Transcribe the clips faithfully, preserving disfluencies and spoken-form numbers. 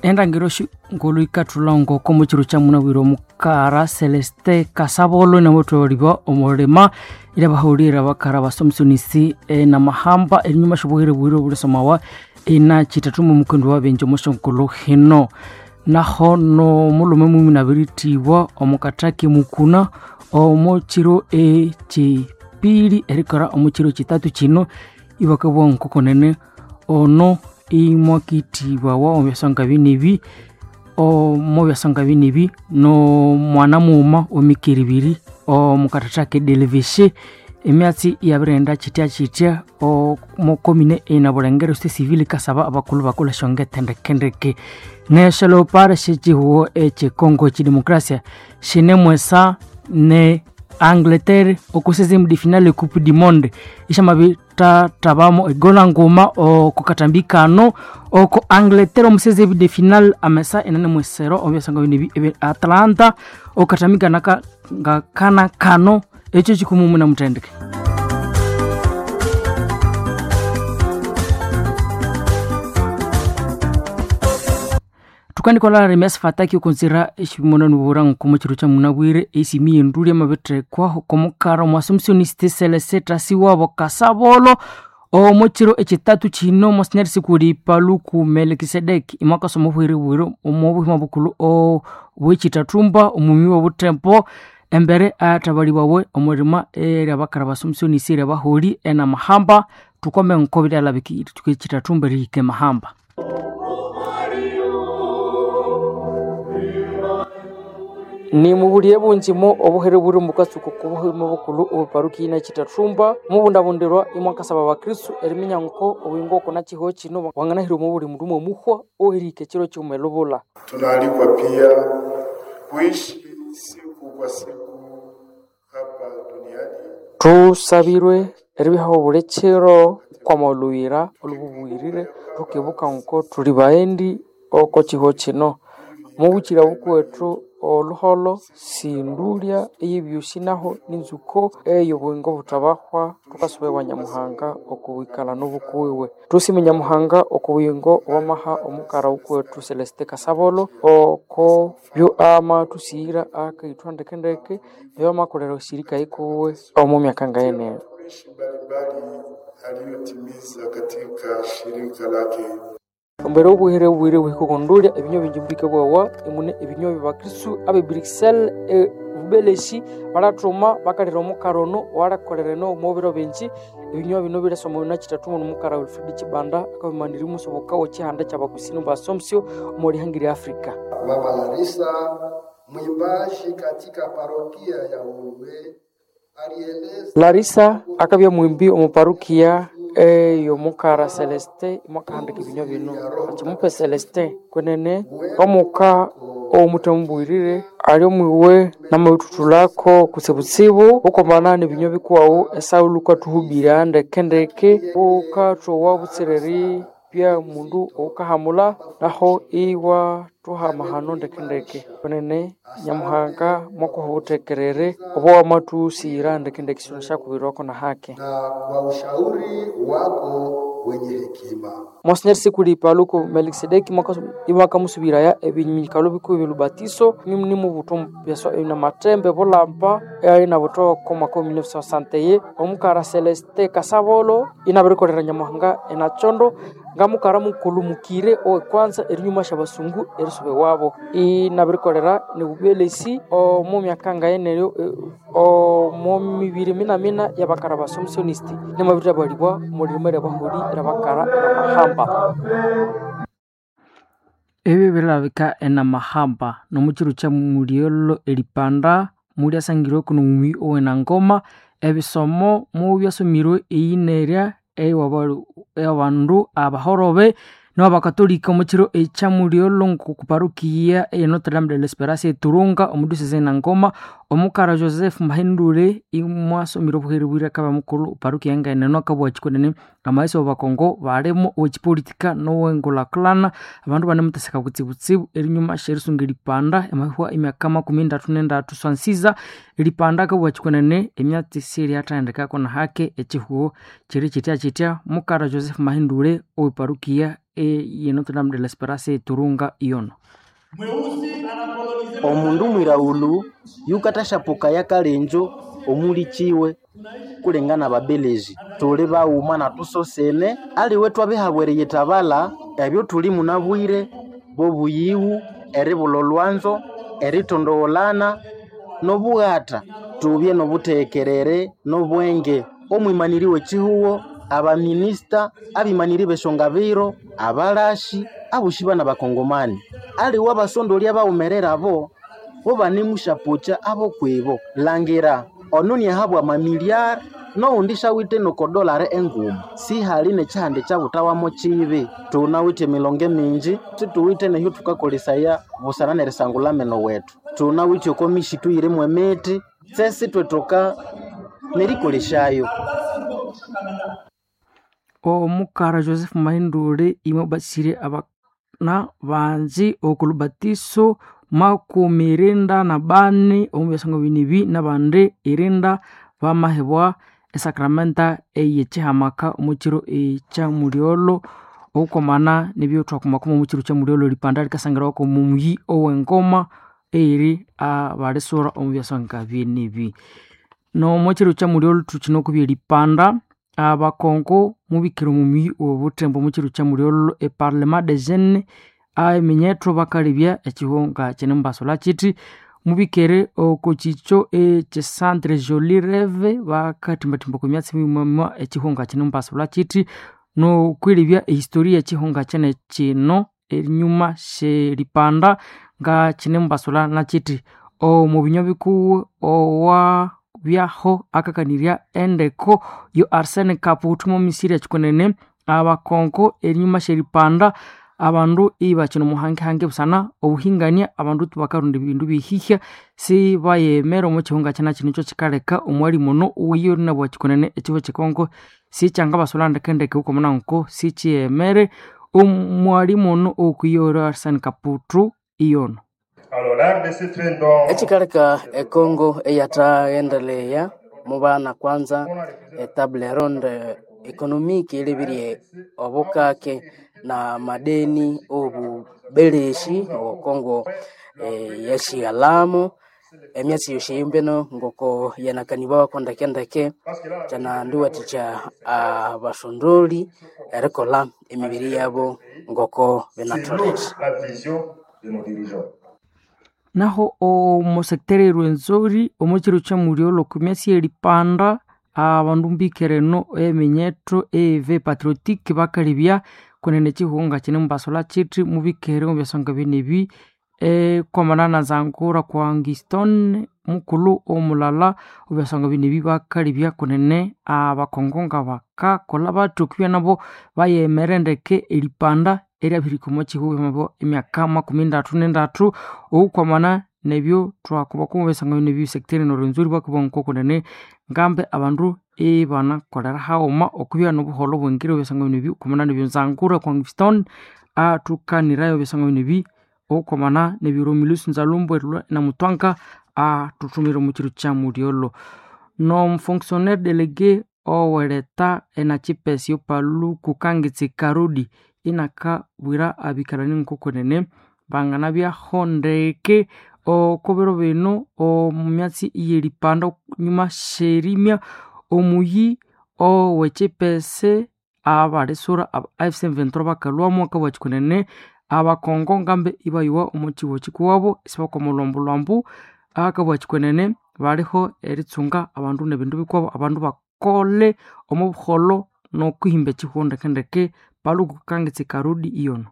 Endangiro ngulu ikathulha ngoko mukiro kya munabwire omukara Celeste Kasabolo namutholibwa omulima irabahaulira bakara basomisonisi enamahamba erinyuma syobuhere bwire obulisomawa ina kithathu mumukendi wabenje omusyongulu hino. Naho nomulume mumi nabirithibwa omukataki mukuna omukiro ekyipili erikora omukiro kithathu kino ibakabugha nkokonene ono imwakithibwawa omu byasonga binibi omu byasonga binibi nomwana mughuma wemikere ibiri omukathathaka edeleveshe emyatsi iyabirighenda kitya kitya omukomine einabulengere société civile ikasaba abakulhu bakolha esyongethe ndekendeke. Nesyo leopard syekyihugho ekye Congo ekyidemokrasia shinemwesa ne Angleterre oko seizième de finale e coupe du monde isyamabithathabamu egona nguma oko katambi kano oko Angleterre omu seizième de finale amesa inanemwesero omu byasonga binibi ebya Atlanta okatambi kana ngakana kano ekyo kikumumu namuthendeke. Thukandikolha remyasi fataki okonzira eshimonano bura nkomo chiro cha munabwire esimi yenduli amabithekwa okomukara omwasomsioniste Celeste Tasiwabo Kasabolo omo chiro ekitatu kino monsignor Sikuli Paluku Melkisedeki imwakasoma obuhere bwire omo buhima bukulhu obwekithathumba omumi wobuthembo embere athabalibawe omulima eryabakara basomsionisi eryabaholi enamahamba thukome nko biryalabika ekithathumba erihika emahamba. Nimubuliye bunjimo obuhere buri mukasuku kubuhima bukulhu obuparuki ina kithathumba mubundabundirwa imwakasaba abakristu eriminya nko obuyingo oko nakiho kino wanganahira omu buli mundu mwomuhwa oherihika ekiro kighuma elubula. Tunaalikwa pia kuishi siku kwa siku hapa duniani. Thusabirwe eribihaho obuli kiro kwamaolhughira olhububwirire thukibuka nko thuli baghendi oko kiho kino mubukira bukuwethu olhuholho sindulya eyebyosi naho ninzuko eyobuyingo buthabahwa thukasuba Nyamuhanga okwikalha nobukuwiwe. Thusime Nyamuhanga okubuyingo obwamaha omukara wukuwethu Celeste Kasabolo oko byo amathusighira akayithwa ndekendeke ebyamakolera esirika yikuwe omu myaka ngayeneyo. Tuishi mbalimbali aliyotimiza katika shirika lake. Embere obuhere bubwire buhika okondulya ebinywa bingi bikabwawa emune ebinywa byabakristu abe Bruxelles e Bubeleshi balathuma bakalira omukara ono owalakolera eno omu biro bingi ebinywa bino biryasoma na kithathu nomukara Wilfred Kibanda akabimanirya omusoboka w'ekihanda ky'abakusini ba Assumption omu lihanga lya Africa. Mama Larisa mwimbaji katika parokia ya Ulwe alieleza Larisa akabya mwimbi omu parukia ey'omukara Celeste imwakahandika ebinywa bino akimupe Celeste kwenene omuka owomuthamubwirire ali omwiwe namabithuthulhako kutsibutsibu bukomana n'ebinywa bikuwawu esaulu ukathuhubirya ndekendeke bukathowa butsireri bya mundu owukahamulha naho iwathuha amahano ndekendeke kwenene Nyamuhanga mwakuha obuthekerere obo wamathusighira ndekendeke siwunasyakubirirwako na hake. na kwa ushauri wako wenye hekima. Monsignor Sikuli Paluku Melkisedeki imwakamusubiraya ebinyikalo bikubi byolubatiso nimubutho byaswa namathembe bulamba inabutho oko mwaka wa mille neuf cent soixante et un omukara Celeste Kasabolo inabirikolera Nyamuhanga enathondo ngamukara mukulhu mukire owekwanza erinyuma syabasungu erisuba ewabo inabirikolera nobubelesi omu myaka ngayeneyo omu mibiri minamina yabakara basomisonisti nimabiribalibwa omulimo eryabaholi eryabakara enamahamba. Ebyo birilabika enamahamba nomukiro kya mulyolho eripanda mulyasangirweku nomumi owenangoma ebisomo mubyasomirwe eyinerya eyabandu abahorobe nabakatolika omukiro ekya mulyolho ngokuparukiya eye Notre Dame de l'Esperance eturunga omu diocese enangoma omukara Joseph Mahindule imwasomire obuhere bwire akabya mukulhu parukiya ngayeneno akabugha kyikunene amaghesi wabakongo balimo owekipolitika nowengulhakulhana abandu banemutheseka kutsibutsibu erinyuma syerisunga eripanda emahwa emyaka makumi ndathu nendathu swansiza eripanda akabugha kyikunene emyatsi syeryathendekako nahake ekyihugho kyiri kyitya kyitya mukara Joseph Mahindule oweparukiya e Notre Dame de l'Esperance Turunga iyono. Omundu mwiraghulu yukathashapuka yakalenjo omulikiwe kulengana ababelezi tuli baghuma natusosene aliwe twabihabwa eriyithabalha ebyo thuli munabwire bobuyighu eribulha olhwanzo eritondogholana n'obughatha tubye n'obuthekerere n'obwenge omwimaniri w'ekihugho abaminisita abimaniri b'esyongabiro abalashi abosi bana bakongomani aliwe abasondolya abaghumerera abo bo banemusyapukya abokwibo langira ono niahabwa amamiliari noghundi syawithe nokodolare enguma sihali nekyihanda ekyabuthawamu kibi thunawithe emilongo emingi sithuwithe nehyo thukakolesaya busana nerisangulha ameno wethu thunawithe oko misitu eyirimu emithi tsesi ithwethoka nerikolesyayo. Omukara Joseph Mahindule imwe basire abana bangi okulubatiso makumi irinda na bani omu byasango binibi nabandi irinda bamahebwa esakramenta eyekihamaka omu kiro ekya mulyolho okukwamana nebyo thwakumakuma omu kiro kya mulyolho eripanda likasangirawa omu muyi owengoma eyiri abalisura omu byasanga binibi. Nomu kiro kya mulyolho thukine okubya eripanda abakongo mubikire omu muyi owobuthembo omu kiro kya mulyolho eparlement des jeunes eminyetho bakalebya ekihunga kyinemubasolha kithi mubikere oko kikyo ekyecentre Jolie Reve bakathimbathimba oko myatsi mighuma ekihunga kyinemubasolha kithi nokwilebya ehistoria ekihunga kyene kino enyuma syeripanda nga kyinemubasolha nakithi omu binywa bikuwu owa byaho akakanirya endeko yo Arsene Kaputu omu misiri ekikunene abakongo enyuma syeripanda abandu ibakina omuhangehange busana obuhingania abandu bakarunda ebindu bihihya sibayemera omu kihunga kyina kino ekyo kikaleka omwali muno owiyo nabwa kikunene ekibo kyekongo sikyangabasolha ndekendeke wukomana nko sikyiyemere omwali muno okwiyo Arsene Kaputu iyono. Ekikaleka ekongo eyathaghendeleya mubana kwanza etable ronde economique ilebirye obukake na madeni obubeleshi okongo yashighalamo emyatsi yosi eyombeno ngoko yanakanibwako ndekendeke kyanandiwathikya abasondoli erikolha emibiri yabo ngoko binatholere. Naho omu sector erwenzori omu kiro kya mulyolho oko myatsi yeripanda abandu mbikere eno eminyetho eve patriotique bakalebya kunene ekihunga kyinemubasolha kithi mubikere omu byasonga binebi ekwamana na Nzangura kwa Angiston mukulhu omulala obyasonga binebi bakalebya kunene abakongo nga bakakolha bathi okwibya nabo bayemere ndeke eripanda eryabihirika omu kihugho emyaka makumi ndathu nendathu okwamana nebyo thwakuba omu byasonga binebi sector eno Rwenzori bakabugha ngoko kunene ngambe abandu ibanakolera haghuma okwibya nobuholho obwengire obyasonga binebi okwamana nebyo Nzangura kwa Angiston athukanirayo ebyasonga binebi okwamana nebyo Romulus Nzalumbu namutwanga athuthumire omu kiro kya mulyolho. Nomufonctionnaire délégué oweleta enakipesi Paluku Kangitsi Karudi inakabwira abikalani ngokwenene banganabyaho ndeke oko biro bino omu myatsi eyeripanda nyuma syerimya omuyi owekyipese abalisura aba A F C M twenty-three bakalhwamu akabugha kyikunene abakongo ngambe ibayowa omu kihugho kikuwabo isibakwama olhwambu akabugha kyikunene baliho eritsunga abandu nebindu bikuwabo abandu bakole omu buholho nokwihimba ekihugho ndekendeke Paluku Kangitsi Karudi iyono.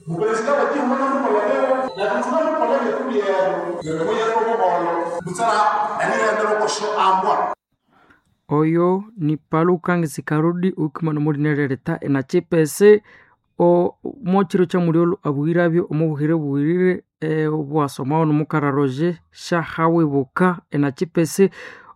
Mupresidente Oyo ni Paluka Ngitsikarudi ukimana mulinerereta enachipese o mochiro cha muliolo abuhirabyo omubuhire buhirire e, obwasomawo nomukara Roger Shahawebuka enachipese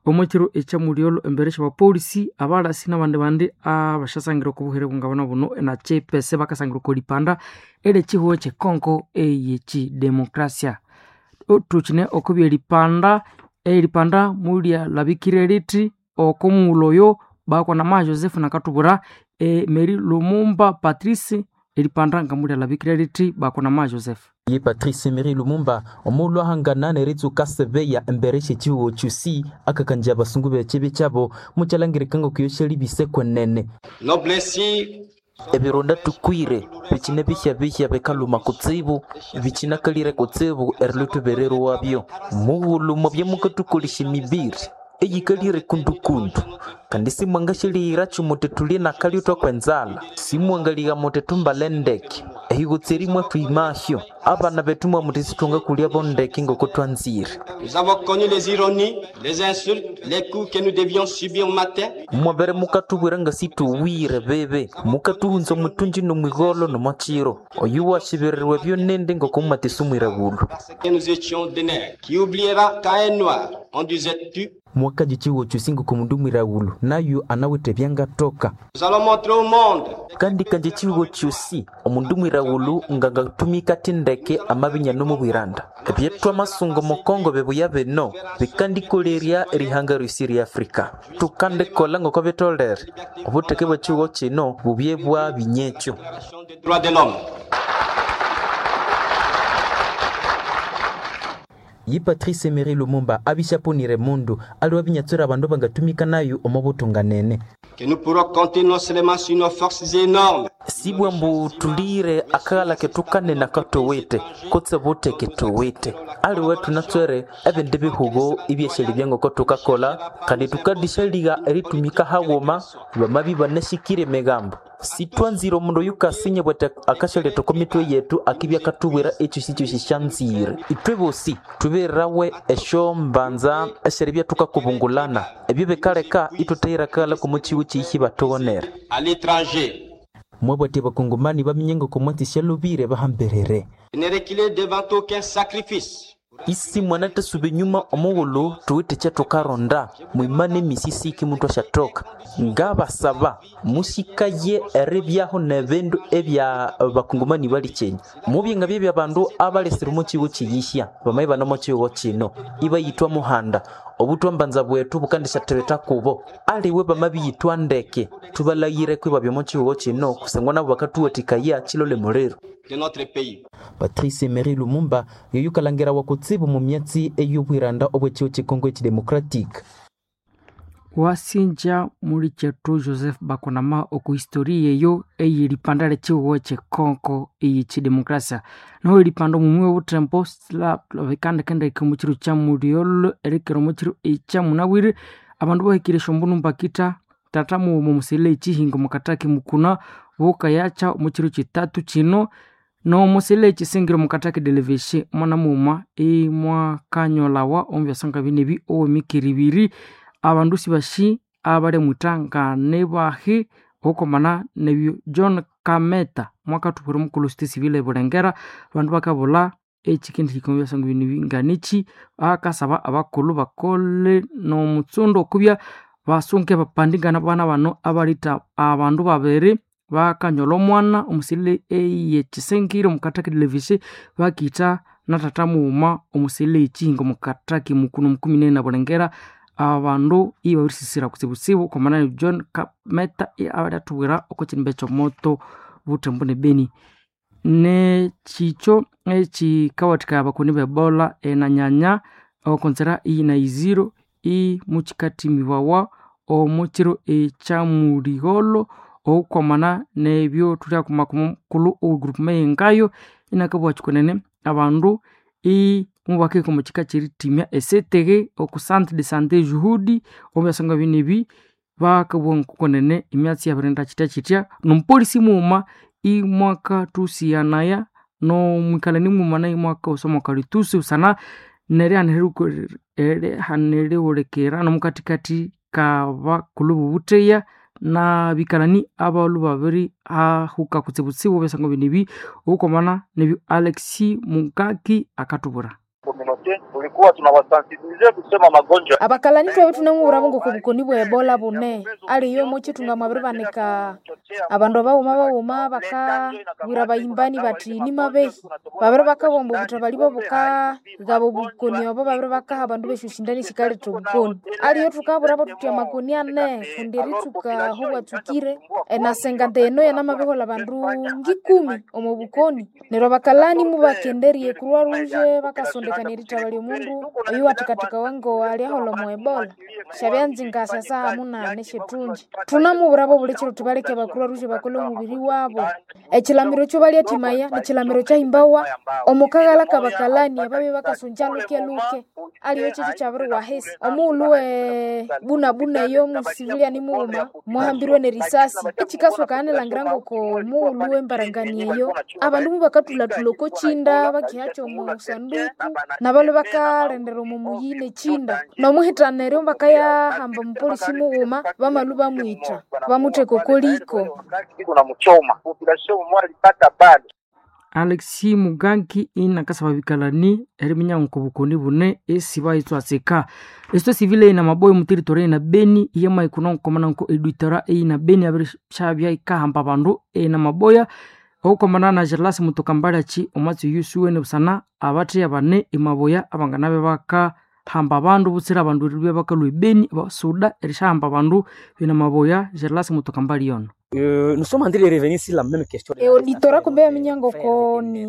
omochiro echa muliolo embere syabapolisi abalasi nabandi bandi abashasangira okubuhire bungabana buno enachipese bakasangira okolipanda ere chihuo chekongo eyechidemokrasia. Tuchine okubya eripanda eripanda mulyalabikire lithi okomughulhu oyo bakwana ma Joseph nakatubwira e, Mary Lumumba Patrice eripanda ngamulyalabikire lithi bakwana ma Joseph. Ye Patrice Emery Lumumba omuulu ahangana neritsuka sebeya embere shechiwo chusi akakanja abasungu bechibi chabo muchalangirika ngokuyoshelibise kwenene ebironda tukwire bichine bihya bihya bikaluma kutsibu bichinakalire kutsibu eriluthuberero wabyo mughulhu mwabya mukathukolesya emibiri eyikalire kundukundu kandi simwangashaliyira muti thulye nakalyo thwakwenzala simwangaligha muti thumbale ndeke ehigutse mwatwimahyo abana bethu mwamuti sithwangakulyabo ndeke ngoko thwanzire. Nous avons connu les ironies, les insultes, les coups que nous devions subir matin. Mwabere mukatubwira nga situwire bebe mukatuhunza omuthunji nomwigolo nomwachiro oyu washibirirwe byonende ngoko mumatisumwira bulu. Parce que nous étions des nègres. Qui oubliera qu'à un noir, on disait tu. Mwakaji chiwo chusingo kumundu mwiraghulu nayo anawithe byangatoka. Nous allons montrer au monde. Kandi kanje chiwo chusi omundu mwiraghulu ngangatumika tindeke amabinya nomubwiranda ebyethu amasungo mukongo bebuya bino bikandikolerya erihanga ryosi rya Afrika tukandikolha ngoko bitolere obutheke bwa chiwo kino bubye bwa binyekyo. Droits de l'homme. Ye Patrice Emery Lumumba abishapunire mundu ali wabinyatswera abandu bangatumika nayo omo butunganene. Que nous pourrons compter non seulement sur nos forces énormes. Sibwa mbu tulire akaghala kethu kanene akatowete kutse butheke towete aliwe thunatswere ebindi bihugo ibyeshali byangoko thukakolha kandi tukadishaligha eritumika haghuma bamabi banashikire emigambo sithwanzire omundu oyukasinya bwete akashaletha oko mitwe yethu akibya akathubwira ekyosi-kyosi syanzire ithwe bosi thubererawe esyombanza esyeribya thukakubungulana ebyo bikaleka ithuthayira akaghala komo kiwu kihi bathughonere. À l'étranger. Mwabwatya abakongomani baminye ngoko mwatsi syalubire bahamberere. Ne reculer devant aucun sacrifice. Isi mwanatasuba enyuma omughulhu thuwithe ekyathukaronda mwimane emisisiki muthu asyathoka ngabasaba musikaye eribyaho nebindu ebya bakongomani balikyenya mubye nga byebya abandu abalesire omo kigo kiyihya bamaye bane omo kigo kino ibayithwa muhanda obuthwambanza bwethu bukandisyathibitha kubo aliwe bamabiyithwa ndeke thubalhaghire kwibabya omo kigo kino kusangwa nabo bakathuwathikaya kilole muliro. De notre pays. Patrice Emery Lumumba yoyukalhangira wakutsibu mu myatsi ey'obwiranda obw'ekigo ky'ekongo ekidemocratic. Wasinja muli kyethu Joseph Bakonama oku history eyo eyeripanda lyekihugo kyekongo eyekidemokrasia. Noho eripanda omumwi obuthembo bikandikendeke omukiro kya mulyolho erikera omukiro ekya munabwire abandu bahikire esyombunu mbakitha tata mughuma omusele ekihinga omukataki mukuna bukayakya omukiro kitatu kino nomusele ekisingire omukataki deleveshe mwana mughuma imwakanyolawa omu byasonga binebi owemikere ibiri abandu sibashi abalyamwitha nganibahi ohukomana nebyo John Kameta mwakathubwira omukulhu société civile ebulengera abandu bakabulha ekikindihika omu byasonga bino nganichi akasaba abakulhu bakole nomutsundo okubya basunke bapandingana bana bano abalitha abandu babiri bakanyola omwana omusele eyekisingire omukataki deleveshe bakitha na tata mughuma omusele ekihinga omukataki mukuna omukumi nene nabulengera abandu ibabirisisira kutsibutsibu okomana John Kameta abalyathubwira oko kinimba ekyomoto buthembo ne Beni. Nekikyo ekikawathikaya abakoni b'Ebola enanyanya okonzera iyina iziro imukikathimibawa omu kiro ekyamuligholo ohukwamana nebyo thulyakumakuma omukulhu owe group meyengayo inakabugha kyikunene abandu imubakahika omu kika kyerithimya esetege oku centre de santé Juhudi omu byasonga binebi bakabugha ngokukunene emyatsi yabirinda kyithya kyithya nomupolisi mughuma imwakathusyanaya nomwikalani mughuma nayo imwakawusa omo kalitusi busana Nerihanerihulikira nomukathikathi kabakulhu bobutheya nabikalani abalhu babiri ahuka kutsibutsibu ebyasango bino ebi obukwamana nebyo Alexi Mukaki akathubwira. Tulikuwa tunawasensibilize kusema magonjwa abakalani twabwe tunamubwirabo ngoko bukoni bwa ebola bune aliyo mochitunga mwabiribanika abandu abawuma bawuma bakabwira abayimbani bati nimabehi babiri bakabomba obutabali bobukagaba obukoni obo babiri bakaha abandu besyoshindani sikaletha obukoni aliyo tukabwirabo tuthi amakoni ane kundi eritsuka aho bwatsukire enasenga eno yanamabiholha abandu ngikumi omo bukoni neryo abakalani mubakenderye Croix Rouge bakasondekania erithabalya omundu oyu wathikathikawa ngo aliaholha omo ebola syabyanzinga syasaha munane syethunji thunamubwirabo buli kiro thuthi baleke aba Croix Rouge bakole omubiri wabo ekilamiro ekyo balyathimaya nikilamiro kyahimbawa omukaghalha kabakalani ababya bakasonja luke-luke aliyo kyekyo kyabiriwahisi omughulhu we bunabuna eyo omusiviliani mughuma mwahambirwe nerisasi ekikasokana nilhangira ngoko mughulhu wembarangani eyo abandu mubakathulathula oko kinda bakihacha omu sanduku nabalwe bakalendera omo muyi nekinda nomuhitana eryo bakayahamba omupolisi mughuma bamalhu bamwitha bamutheka okoliko Alexi Muganki inakasaba bikalani eriminya nkobukoni bune esi bayitswatsika esito sivile ina maboyo muteritori ina Beni iyama ikuno nkomana nko edwitora ina Beni abirishabya ikahamba abandu ina maboya okukomana na Gerlas Mutokambalachi omwatsi yusuwe nebusana abatheya bane emaboya abanganabe bakahamba abandu butsira abandu eribya bakalhwa ebeni basuda erishahamba abandu bina maboya Gerlas Mutokambali yono. Euh, nous sommes en train de revenir sur la même question. Eauditora kumbe yaminya ngoko ni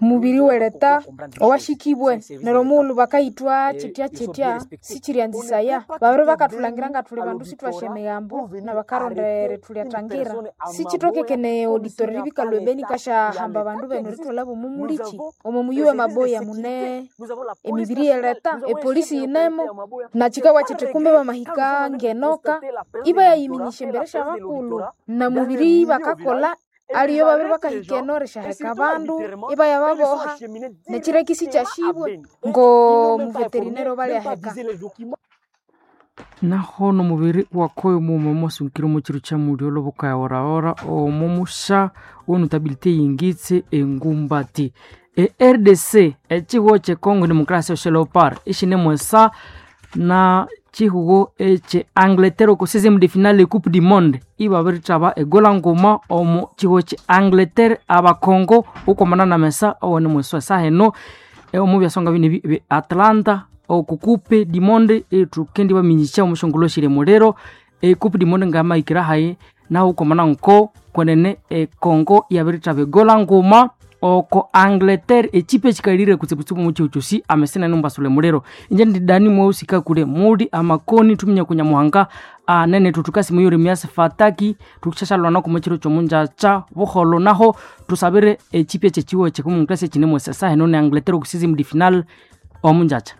mubiri weleta owashikibwe neryo omughulhu bakayithwa kyitya kyitya sikyiryanzisaya babiri bakathulangira nga thuli bandu sithwasya emighambo nabakaronda erithulyathangira sikyithokekene auditora eribikalwa ebeni kasyahamba abandu benu erithwalha omo muliki omo muyi wemaboya mune emibiri yeleta epolisi yinemo nakikawa kyithi kumbe bamahika ngenoka ibayayiminyisya embere syabakulhu namubiri bakakolha aliyo babiri bakahika eno erishaheka abandu ibaya baboha nekireki sikyashibwe ngo muveterinero balyaheka. Naho nomubiri wakoyo muuma mwasunkire omo kiro kya mulyo lobukaya-ora omo musha wenotabilite yingitse engumbati e R D C ekihugo kye Congo Democracy Leopard ishine mwesa na chihugo eche Angleterre oko seizième de finale Coupe du Monde ibabirithaba egola nguma omu chihugo kye Angleterre abakongo ukomana na mesa owene mwesa saheno omu byasonga bino bi Atlanta oku Coupe du Monde ethukendi baminyisya omushongolo shire muliro e Coupe du Monde ngamaikira hayi naho ukomana nko kwenene e Congo yabirithaba egola nguma oko Angleterre echipe echikalire kutsibutsibu muchihu kyosi amesena numbasule muliro inje ndidani mweusika kule muli amakoni tuminya kunyamuhanga anene tutukasi muyuri myasi fataki tukushashalwa nako muchiro chomunjacha buholo naho tusabire echipe chechiwo chekumunklasi chinemwesesa heno ne Angleterre oku seizième de finale omunjacha.